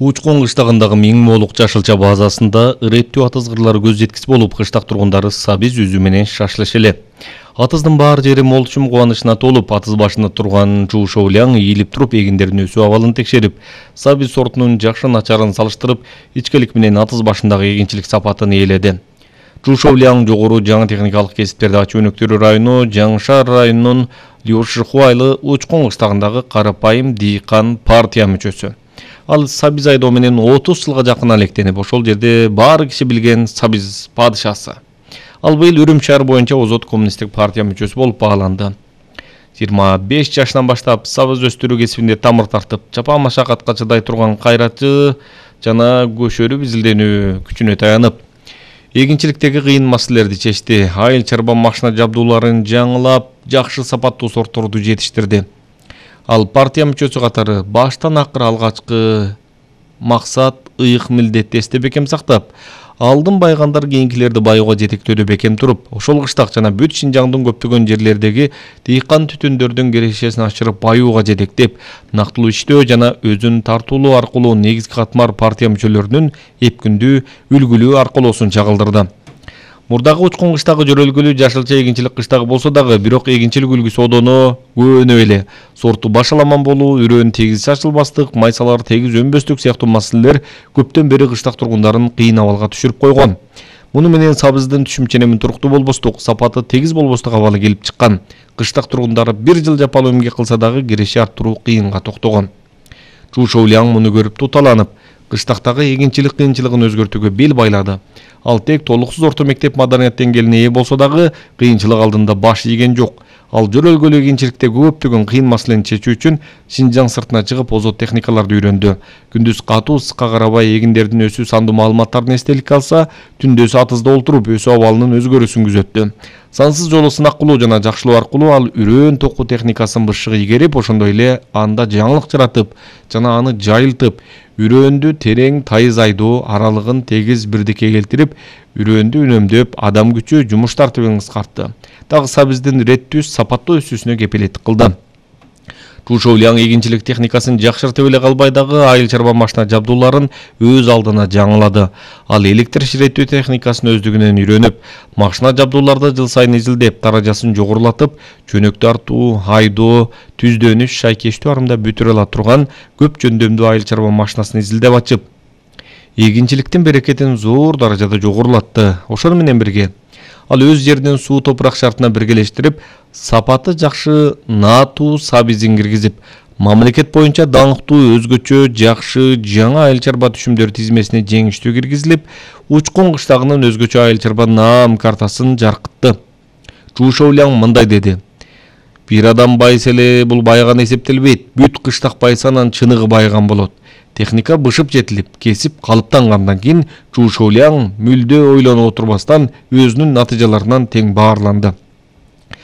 Учкун кыштагындагы Миң Моолук жашылча базасында иреттүү атыз кырлары көз жеткис болуп, кыштак тургундары сабиз үзүү менен шашлыш эле. Атыздын баар жери молчум кубанычына толуп, атыз башында турган Чу Шоуляң ийилип туруп эгиндердин өсүү абалын текшерип, сабиз сортунун жакшы начарын салыштырып, ичкелик менен атыз башындагы эгинчилик сапатын ээледи. Чу Шоуляң жогору жаңы техникалык кесиптерди ачуу өнөктөрү району Жаңшар районунун Лёшихуайлы Учкун кыштагындагы карапайым дыйкан партия мүчөсү. Ал сабиз айдоо менен 30 жылга жакын алектенип, ошол жерде баары киши билген сабиз падышасы. Ал быйыл Үрүм шаар боюнча Озот коммунисттик партия мүчөсү болуп бааланды. 25 жашынан баштап сабиз өстүрүү кесибинде тамыр тартып, чапан машакатка чыдай турган кайратчы жана көшөрүп изилденүү күчүнө таянып, эгинчиликтеги кыйын маселелерди чечти, айыл чарба машина жабдууларын жаңылап, жакшы сапаттуу сортторду жетиштирди. Ал партия мүчөсү катары баштан акыр алгачкы максат, ыйык милдетти эсте бекем сактап, алдын байгандар кийинкилерди баюуга жетектөөдө бекем туруп, ошол кыштак жана бүт Шинжаңдын көптөгөн жерлердеги дыйкан түтүндөрдүн кирешесин ашырып баюуга жетектеп, нактылуу иштөө жана өзүн тартуулоо аркылуу негизги катмар партия мүчөлөрүнүн эпкүндүү, үлгүлүү аркылоосун чагылдырды. Мурдагы Учкун кыштагы жөрөлгөлүү жашылча эгинчилик кыштагы болсо дагы, бирок эгинчилик үлгүсү одоно көөнө эле. Сорту башаламан болуу, үрөөн тегиз чачылбастык, майсалар тегиз өнбөстүк сыяктуу маселелер көптөн бери кыштак тургундарын кыйын абалга түшүрүп койгон. Муну менен сабыздын түшүм-ченемин туруктуу болбостук, сапаты тегиз болбостук абалы келип чыккан. Кыштак тургундары бир жыл жапалуу эмгек кылса дагы киреши арттыруу кыйынга токтогон. Чу Шоуляң муну көрүп туталанып, кыштактагы эгинчилик кыйынчылыгын өзгөртүүгө бел байлады. Ал тек толуксуз орто мектеп маданият деңгээлине ээ болсо дагы кыйынчылык алдында баш ийген жок. Ал жөрөлгөлүү эгинчиликте көптөгөн кыйын маселени чечүү үчүн Шинжаң сыртына чыгып озот техникаларды үйрөндү. Күндүз катуу ысыкка карабай эгиндердин өсүү сандуу маалыматтарын эстеликке алса, түндөсү атызда олтуруп өсүү абалынын өзгөрүүсүн күзөттү. Сансыз жолу сынак кылуу жана жакшылоо аркылуу ал үрөөн току техникасын бышыгы ийгерип, ошондой эле анда жаңылык жаратып жана аны жайылтып, үрөөндү терең тайыз айдоо аралыгын тегиз бирдикке келтирип, үрөөндү үнөмдөп, адам күчү, жумуш тартыбын кыскартты. Дагы сабиздин реттүү, сапаттуу өсүүсүнө кепилеттик кылды. Чу Шоуляң эгинчилик техникасын жакшыртып эле калбай дагы айыл чарба машина жабдууларын өз алдына жаңылады. Ал электр ширеттүү техникасын өздүгүнөн үйрөнүп, машина жабдууларды жыл сайын изилдеп, даражасын жогорулатып, чөнөк тартуу, айдоо, түздөнүш, шайкештүү арымда бүтүрө ала турган көп жөндөмдүү айыл чарба машинасын изилдеп ачып, эгинчиликтин берекетин зор даражада жогорулатты. Ошону менен бирге ал өз жеринин суу топурак шартына биргелештирип, сапаты жакшы наатуу сабизин киргизип, мамлекет боюнча даңктуу, өзгөчө, жакшы жаңа айыл чарба түшүмдөр тизмесине жеңиштүү киргизилип, Учкун кыштагынын өзгөчө айыл чарба наам картасын жаркытты. Чу Шоуляң мындай деди: бир адам байыса эле бул байыган эсептелбейт. Бүт кыштак байыса анан чыныгы байыган болот. Техника бышып жетилип, кесип калыптангандан кийин Чу Шоуляң мүлдө ойлонуп отурбастан өзүнүн натыйжаларынан тең баарланды.